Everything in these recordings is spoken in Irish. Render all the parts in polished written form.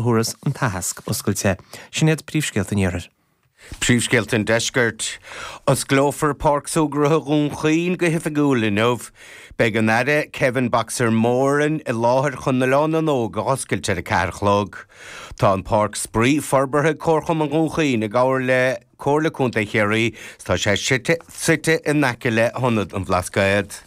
thabharfas an t-aitheasc oscailte. Sin iad príomhscéalta an Iarthair. Príomhscéalta an Deiscirt. Osclófar Páirc Súgartha Dhún Chaoin go hoifigiúil inniu. Beidh an Aire Kevin 'Boxer' Moran i láthair chun Oileán na nÓg a oscailt ar a 4 a chlog. Tá an páirc spraoi forbartha ag Comharchumann Dhún Chaoin i gcomhar le Comhairle Contae Chiarraí 's tá sé suite in aice le hIonad an Bhlascaoid.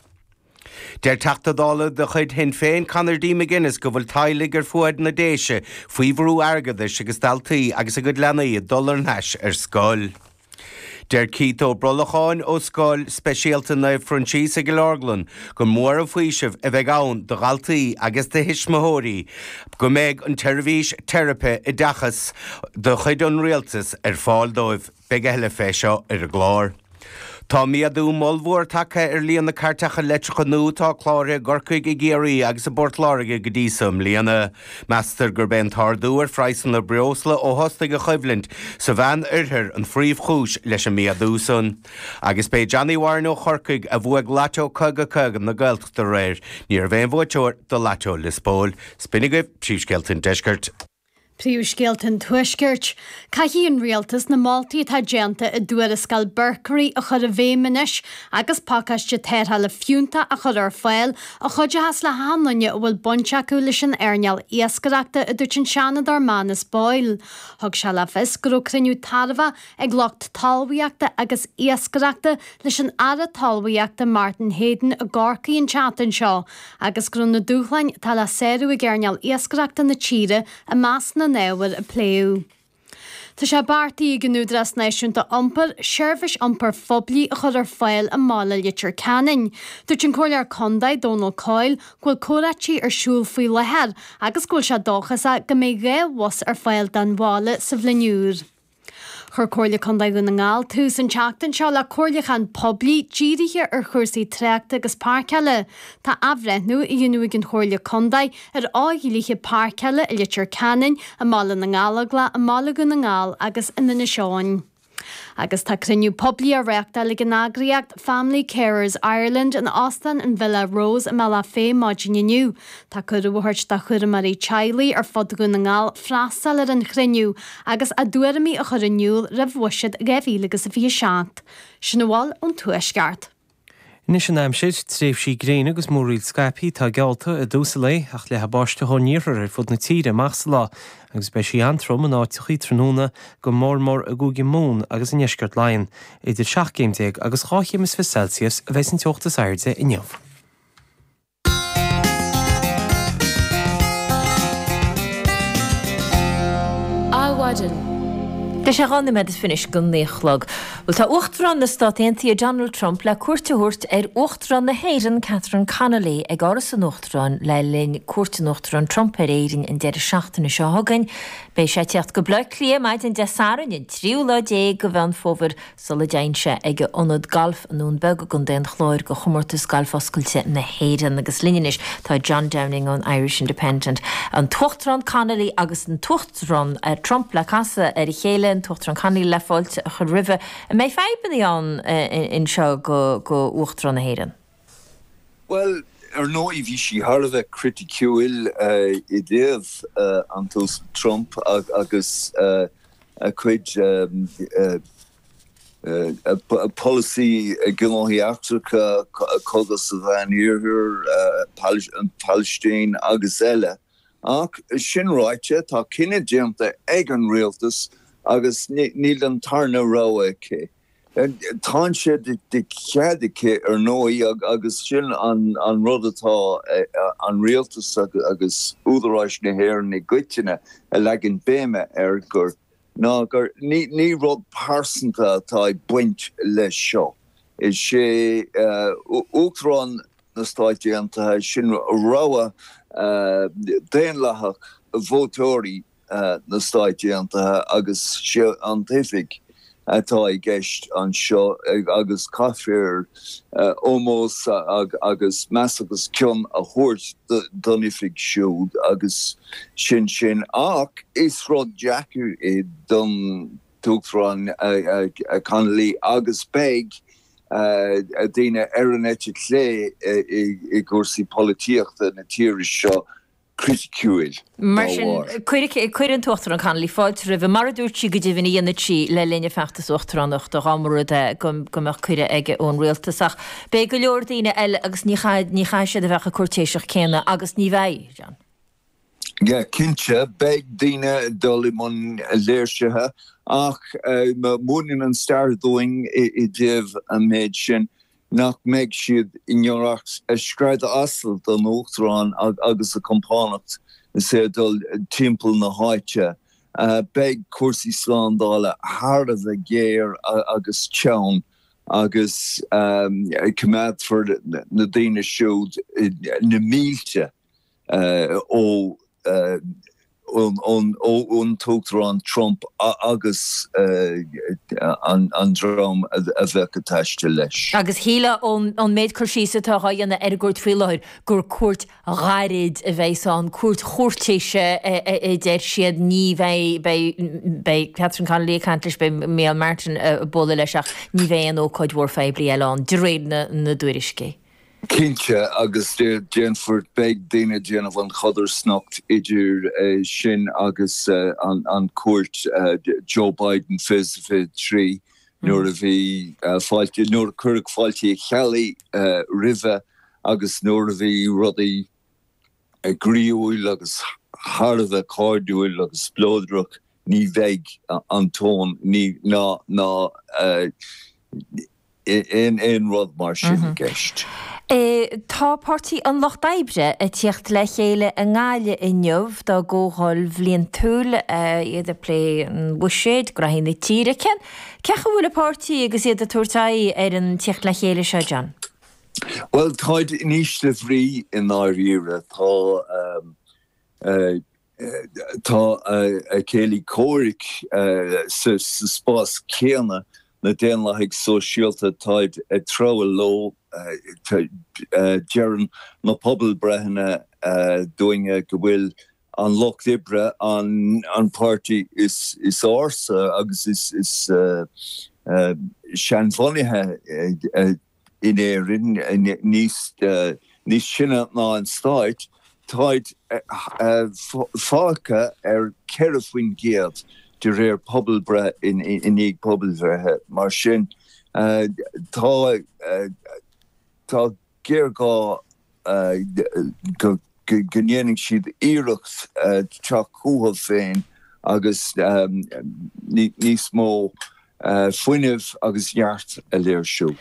Deir Teachta Dála de chuid Shinn Féin, Conor D McGuinness go bhfuil teaghlaigh ar fuaid na Déise faoi bhrú airgeadais agus daltaí agus a gcuid leanaí ag dul thar n-ais ar scoil. Deir Keith Ó Brolacháin ó Scoil Speisialta Naomh Proinsias i gCill Orglan gur mór an faoiseamh a bheidh ann do dhaltaí agus do thuismitheoirí go mbeidh an tseirbhís teiripe oideachais de chuid an Rialtais ar fáil dóibh. Beidh a thuilleadh fé seo ar an gclár. Tá méadú ollmhór tagtha ar líon na cairteacha leictreacha nua atá cláraithe i gCorcaigh, i gCiarraí agus i bPort Láirge go dtí so i mbliana. Meastar gurb é an t-ardú ar phraghsanna breosla ó thosnaigh an choimhlint sa Mheán Oirthear an phríomhchúis leis an méadú san. Agus b'é Johnny Warren ó Chorcaigh a bhuaigh Lató 50 50 na Gaeltachta aréir. Ní raibh aon bhuaiteoir do Lató Lios Póil. 'S b'in agaibh príomhscéalta an Deiscirt. Príomhscéalta an Tuaiscirt. Caithfidh an Rialtas na moltaí atá déanta i dtuarascáil Berkery a chur i bhfeidhm anois agus pacáiste tarrthála fiúntach a chur ar fáil a chuideochas le hachan duine a bhfuil baint acu leis an earnáil iascaireachta, a dúirt an Seanadóir Manus Boyle. Thug sé le fios go raibh cruinniú tairbheach ag lucht talmhaíochta agus iascaireachta leis an Aire Talmhaíochta Martin Heydon i gCorcaigh an tseachtain seo agus go raibh na dúshláin atá le sárú ag earnáil iascaireachta na tíre i measc na n-ábhar a pléadh. Tá sé beartaithe ag an Údarás Náisiúnta Iompair seirbhís iompair phoiblí a chur ar fáil i mbaile Leitir Ceanainn. Dúirt an Comhairleoir Contae, Dónal Coyle, go bhfuil comhráití ar siúl faoi láthair agus go bhfuil sé dóchasach go mbeidh 2 bhus ar fáil don bhaile sa bhliain úr. Chuir Comhairle Contae Dhún na nGall tús an tseachtain seo le comhairliúchán poiblí dírithe ar chúrsaí tráchta agus páirceála. Tá athbhreithniú á dhéanamh ag an Chomhairle Contae ar fhodhlíthe páirceála i Leitir Ceanainn, i mBaile na nGallóglach, i mBaile Dhún na nGall agus in Inis Eoghain. Agus tá cruinniú poiblí á reáchtáil ag an eagraíocht Family Carers Ireland in Óstán an Villa Rose i mBealach Féich maidin inniu. Tá cuireadh á thabhairt do chúramóirí teaghlaigh ar fud Dhún na nGall freastal ar an chruinniú agus a dtuairimí a chur in iúl roimh Bhuiséad 2027. Sin a bhfuil ón Tuaisceart. Anois an aimsir, tréimhsí gréine agus múraíl scaipthe atá geallta i dtús an lae ach leathfaidh báisteach ón iarthar ar fud na tíre amach sa lá agus beidh sí an-trom in áiteachaí tráthnóna, go mór mór i gCúige Mumhan agus i ndeisceart Laighean. Idir 17 céim agus 22 chéim Celsius a bheidh an teocht is airde inniu. Adhmhaidin. Tá sé 12 nóiméad is fiche go 9 a chlog. Bhuel, tá Uachtarán na Stát Aontaithe Donald Trump le cuairt a thabhairt ar Uachtarán na hÉireann Catherine Connolly ag Áras an Uachtaráin le linn cuairt an Uachtaráin Trump ar Éirinn an deireadh seachtaine seo chugainn. Beidh sé ag tíocht go Baile Átha Cliath maidin Dé Sathairn an tríú lá déag de Mheán Fómhair sula dtéann sé ag a ionad gailf i nDún Beag i gContae an Chláir do Chomórtas Gailf Oscailte na hÉireann. Agus linn anois tá John Downing ón Irish Independent, an tUachtarán Connolly agus an tUachtarán Trump le casadh ar a chéile, an tUachtarán Connolly le fáilte a chur roimhe. An mbeidh fadhbanna ann anseo do Uachtarán na hÉireann? Bhuel, ar ndóigh, bhí sí thar a bheith criticiúil i dtaobh an tUasal Trump agus a chuid polasaí gnóthaí eachtracha, cogadh sa Mheán Oirthear, an Phalaistín agus eile. Ach sin ráite, tá cinneadh déanta ag an rialtas agus níl an tarna rogha aici. Tá sé de chead aici, ar ndóigh, agus sin an rud atá an rialtas agus údaráis na hÉireann i gcoitinne a leagan béime air, gur ná gur ní rud pearsanta atá ag baint leis seo. Is é Uachtarán na Stáit Aontaithe, sin rogha daonlathach vótóirí na Stáit Aontaithe agus sé an t-oifig atá i gceist anseo agus caithfear ómós agus meas agus cion a thabhairt don oifig siúd agus sin sin. Ach is rud deacair é don tUachtarán Connolly agus beidh daoine ar an eite chlé i gcúrsaí polaitíochta na tíre seo. Criticiúil dá Mar sin, bharr. cuirfidh an tUachtarán Connolly fáilte roimhe, mar a dúirt sí go deimhin a dhéanfadh sí le linn a feachtas uachtaránachta, dá mba rud é go mbeadh cuireadh aige ón rialtas. Ach beidh go leor daoine eile agus ní chaithfidh siad a bheith chomh cúirtéiseach céanna agus ní bheidh, John. Yeah, cinnte, beidh daoine ag dul i mbun léirsithe ach múineann an stair dúinn i dtaobh an méid sin nach mbeidh siad i ngiorracht scread asail don Uachtarán agus a compánacht is é ag dul timpeall na háite. Beidh cúrsaí slándála thar a bheith géar agus teann agus coimeádfar na daoine siúd, na mílte, ó ón tUachtarán Trump agus an dream a bheadh ag taisteal leis. Agus shílfeá ón méid cur síos atá á dhéanamh ar an gcuairt faoi láthair gur cuairt ghairid a bheas ann, cuairt chúirtéise a deir siad. Ní bheidh, beidh, beidh Catherine Connolly ag caint leis, beidh Micheál Martin ag bualadh leis ach ní bheidh aon ócáid mhór phoiblí eile ann, de réir na dtuairiscí. Cinnte, agus déanfar, beidh daoine ag déanamh an chodarsnacht idir sin agus an cuairt Joe Biden 2023 nuair a bhí fáilte, nuair a cuireadh fáilte Uí Cheallaigh roimhe agus nuair a bhí rudaí groíúil agus thar a bheith cairdiúil agus spleodrach, ní bheidh an tón, ní, ná, ná. aon rud mar sin i gceist. Tá Páirtí an Lucht Oibre ag tíocht le chéile i nGaillimh inniu dá gcomhdháil bhliantúil, iad ag plé an bhuiséid, graithí na tíre. Cén chaoi a bhfuil an páirtí agus iad ag tabhairt aghaidh ar an tíocht le chéile seo, John? Bhuel, táid in ísle bhrí i ndáiríre. Tá. Tá a céilí comhraic sa spás céanna, na Daonlathaigh Sóisialta, táid ag treabhadh leo. Deireann na pobalbreitheanna dúinne go bhfuil an Lucht Oibre an páirtí is ársa agus is seanbhunaithe. in Éirinn níos sine ná an stáit, táid fágtha ar 4% de réir pobalbreith i ndiaidh pobalbhreithe. Mar sin, tá géarghá go ndéanfaidh siad iarracht teacht chucu féin agus níos mó fuinnimh agus neart a léirsiú.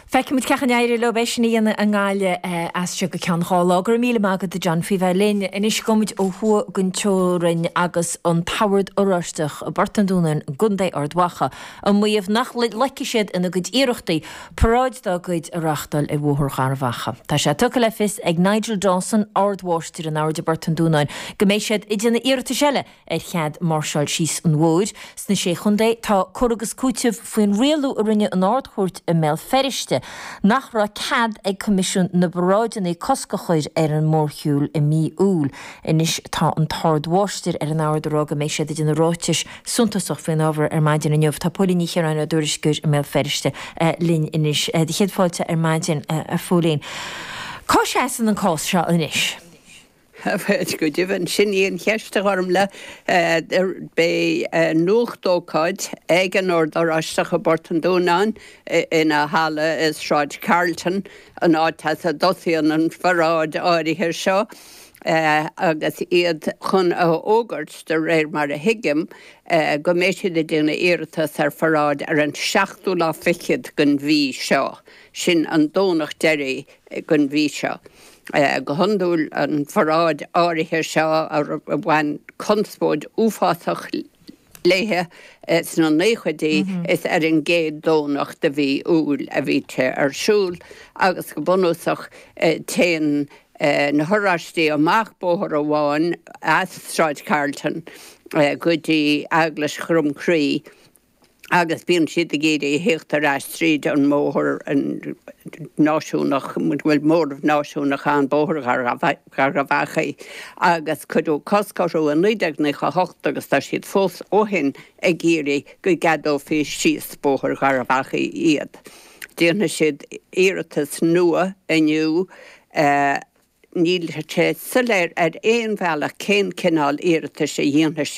Feicfimid cén chaoi a n-éireoidh leo é sin a dhéanamh i nGaillimh as seo go ceann 2 lá. Go raibh míle maith agat a John faoi bheith linn. Anois gabhfaimid ó thuaidh den teorainn agus an tOrd Oráisteach i bPort an Dúnáin i gContae Ard Mhacha ag maíomh nach loicfidh siad ina gcuid iarrachtaí paráid dá gcuid a reáchtáil ar Bhóthar Gharbh Achaidh. Tá sé tugtha le fios ag Nigel Dawson, Ard-Mháistir an Oird i bPort an Dúnáin, go mbeidh siad ag déanamh iarratais eile ar chead máirseáil síos an bhóthair. Sna Sé Chontae, tá cur agus cúiteamh faoin rialú a rinne an Ard-Chúirt i mBéal Feirste nach raibh cead ag Coimisiún na bParáideanna cosc a chur ar an mórshiúl i mí Iúil. Anois tá an tArd-Mháistir ar an Ord ag rá go mbeidh siad ag déanamh ráitis suntasach faoin ábhar ar maidin inniu. Tá Póilín Ní Chiaráin, ár dtuairisceoir i mBéal Feirste, linn anois. Do chéad fáilte ar maidin, a Phóilín. Cá seasann an cás seo anois? Bhuel, go deimhin, sin í an cheist, a Ghormfhlaith. Beidh nuachtócáid ag an Ord Oráisteach i bPort an Dúnáin, ina halla i Sráid Carlton, an áit as a dtosaíonn an pharáid áirithe seo. agus iad chun a fhógairt, de réir mar a thuigim, go mbeidh siad ag déanamh iarratas ar pharáid ar an seachtú lá fichead den mhí seo, sin an Domhnach deiridh den mhí seo. Go hiondúil, an pharáid áirithe seo a bhain conspóid uafásach léithe sna naochaidí, is ar an gcéad Domhnach de mhí Iúil a bhíonn sé ar siúl agus go bunúsach téann na hOráistí amach bóthar amháin as Sráid Carlton go dtí Eaglais Dhroim Crí agus bíonn siad ag iarraidh a thíocht ar ais tríd an mbóthar náisiúnach, bhfuil móramh náisiúnach ann, Bóthar Gharbh Achaidh, agus cuireadh cosc orthu i 1998 agus tá siad fós ó shin ag iarraidh go gceadófaí síos Bóthar Gharbh Achaidh iad. Déanfaidh siad iarratas nua inniu. Níl sé soiléir ar aon bhealach cén cineál iarratais a dhéanfaidh siad.